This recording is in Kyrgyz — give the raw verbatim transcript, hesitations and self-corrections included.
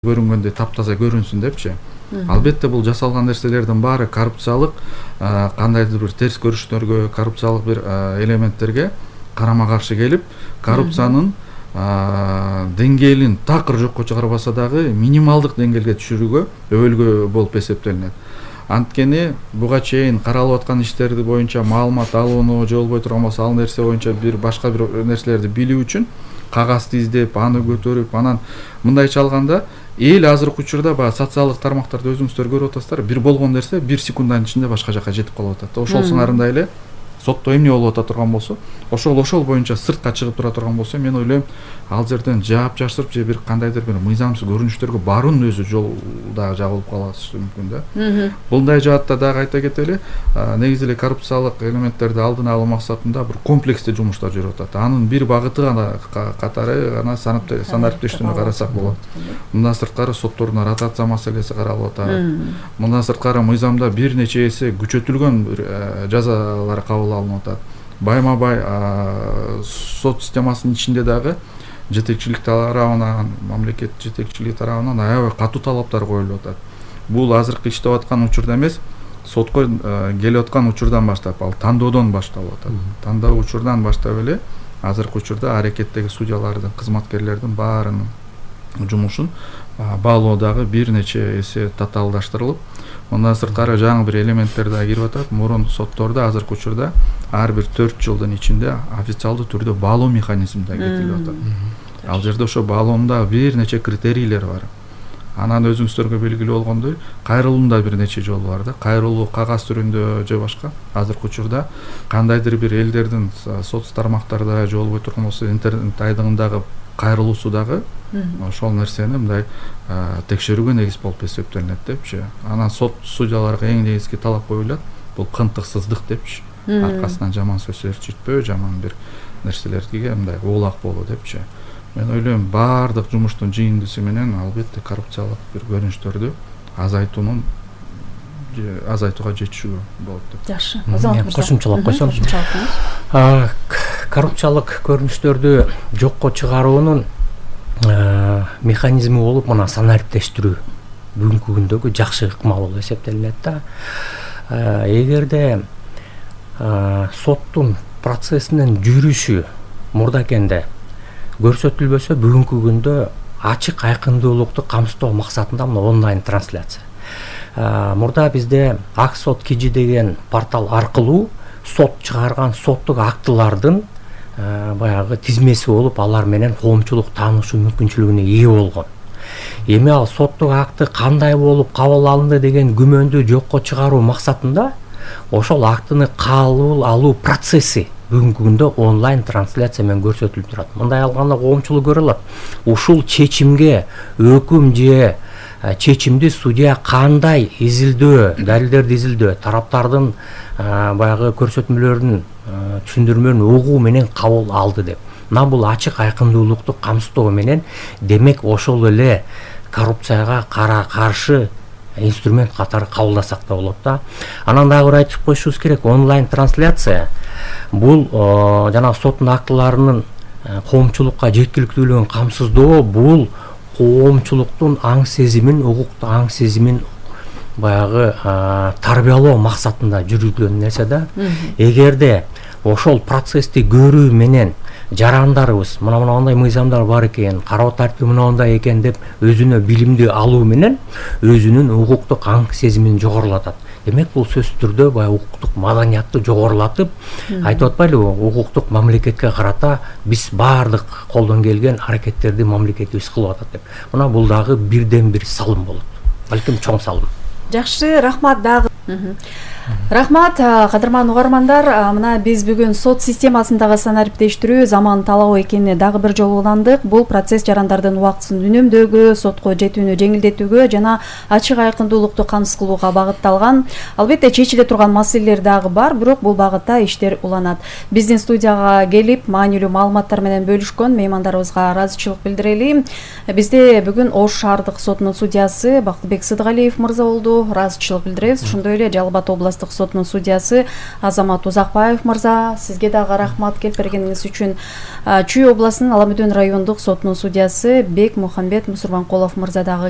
көрүнгөндөй таптаза көрүнсүн депчи. Албетте бул жасалган нерселердин баары коррупциялык кандайдыр бир терс көрүштөргө, коррупциялык бир элементтерге карама каршы келип, коррупциянын деңгээлин такыр жокко чыгарбаса дагы минималдык деңгээлге түшүрүүгө өбөлгө болуп эсептелинет. Анткени буга чейин каралып аткан иштерди боюнча маалымат алууну же болбой турган болсо, ал нерсе боюнча бир башка бир нерселерди билүү үчүн кагазды издеп, аны көтөрүп, анан мындайча алганда эл азыркы учурда баягы социалдык тармактарда өзүңүздөр көрүп атасыздар, бир болгон нерсе бир секунданын ичинде башка жака жетип калып атат. Ошол сыңарында эле сотто эмне болуп ата турган болсо, ошол ошол боюнча сыртка чыгып тура турган болсо, мен ойлойм, ал жерден жаап жашырып же бир кандайдыр бир мыйзамсыз көрүнүштөргө баруунун өзү жол дагы жабылып калышы мүмкүн да. Мындай жаатта дагы айта кетели, негизи эле коррупциялык элементтерди алдын алуу максатында бир комплекстүү жумуштар жүрүп атат. Анын бир багыты гана катары гана санариптештүүнү карасак болот. Мындан сырткары соттордун ротация маселеси каралып атат. Мындан сырткары мыйзамда бир нече эсе күчөтүлгөн жазалар кабыл алынып атат. Байма бай сот системасынын ичинде дагы жетекчилик тарабынан, мамлекет жетекчилиги тарабынан аябай катуу талаптар коюлуп атат. Бул азыркы иштеп аткан учурда эмес, сотко келип аткан учурдан баштап, ал тандоодон башталып атат. Тандоо учурдан баштап эле азыркы учурда аракеттеги судьялардын, кызматкерлердин баарынын жумушун баалоо дагы бир нече эсе татаалдаштырылып, мындан сырткары жаңы бир элементтер да кирип атат. Мурун соттордо азыркы учурда ар бир төрт жылдын ичинде официалдуу түрдө баалоо механизми да кетирип атат. Ал жерде ошо баалоонун бир нече критерийлери бар. Анан өзүңүздөргө белгилүү болгондой, кайрылуунда бир нече жол бар да. Кайрылуу кагаз түрүндө же башка. Азыркы учурда кандайдыр бир элдердин соц тармактарда же болбой турган болсо интернет айдыгындагы кайрылуусу дагы ошол нерсени мындай текшерүүгө негиз болуп эсептелинет депчи. Анан сот судьяларга эң негизги талап коюлат, бул кынтыксыздык депчи. Аркасынан жаман сөз ээрчитпөө, жаман бир нерселерге мындай оолак болуу депчи. Мен ойлойм, баардык жумуштун жыйындысы менен албетте коррупциялык бир көрүнүштөрдү азайтуунун азайтууга жетишүү болот деп. Жакшы. Кошумчалап койсом, коррупциялык көрүнүштөрдү жокко чыгаруунун механизми болуп мына санариптештирүү бүгүнкү күндөгү жакшы ыкма болуп эсептелинет да. Эгерде соттун процессинин жүрүшү мурдакенде көрсөтүлбөсө, бүгүнкү күндө ачык айкындуулукту камсыздоо максатында мына онлайн трансляция. Мурда бизде Аксот Кижи деген портал аркылуу сот чыгарган соттук актылардын баягы тизмеси болуп, алар менен коомчулук таанышуу мүмкүнчүлүгүнө ээ болгон. Эми ал соттук акты кандай болуп кабыл алынды деген күмөндү жокко чыгаруу максатында ошол актыны кабыл алуу процесси бүгүнкү күндө онлайн трансляция менен көрсөтүлүп турат. Мындай алганда коомчулук көрө алат. Ушул чечимге өкүм же чечимди судья кандай изилдөө, далилдерди изилдөө, тараптардын баягы көрсөтмөлөрүн, түшүндүрмөлөрүн угуу менен кабыл алды деп. Мына бул ачык айкындуулукту камсыздоо менен, демек ошол эле коррупцияга кара каршы инструмент катары кабылдасак да болот да. Анан дагы бир айтып коюшубуз керек, онлайн трансляция бул жана соттун актыларынын коомчулукка жеткиликтүүлүгүн камсыздоо, бул коомчулуктун аң сезимин, укукту аң сезимин баягы тарбиялоо максатында жүргүзүлгөн нерсе да. Эгерде ошол процессти көрүү менен жарандарыбыз мына мындай мыйзамдар бар экен, кароо тартиби мындай экен деп өзүнө билимди алуу менен өзүнүн укуктук аң сезимин жогорулатат. Демек бул сөзсүз түрдө баягы укуктук маданиятты жогорулатып, айтып атпайлыбы, укуктук мамлекетке карата биз баардык колдон келген аракеттерди мамлекетибиз кылып атат деп. Мына бул дагы бирден бир салым болот. Балким чоң салым. Жакшы, рахмат дагы. Рахмат, кадырман угармандар. Мына биз бүгүн сот системасындагы санариптештирүү заман талабы экенине дагы бир жолу уландык. Бул процесс жарандардын убактысын үнөмдөөгө, сотко жетүүнү жеңилдетүүгө жана ачык айкындуулукту камсыз кылууга багытталган. Албетте чечиле турган маселелер дагы бар, бирок бул багытта иштер уланат. Биздин студияга келип, маанилүү маалыматтар менен бөлүшкөн меймандарыбызга ыраазычылык билдирели. Бизде бүгүн Ош шаардык сотунун судьясы Бактыбек Сыдыгалиев мырза болду. Ыраазычылык билдиребиз. Ошондой эле Жалал Абад областык областык сотунун судьясы Азамат Узакбаев мырза, сизге дагы рахмат келип бергениңиз үчүн. Чүй областынын Ала Мөдөн райондук сотунун судьясы Бек Мухамбет Мусурбанкулов мырза дагы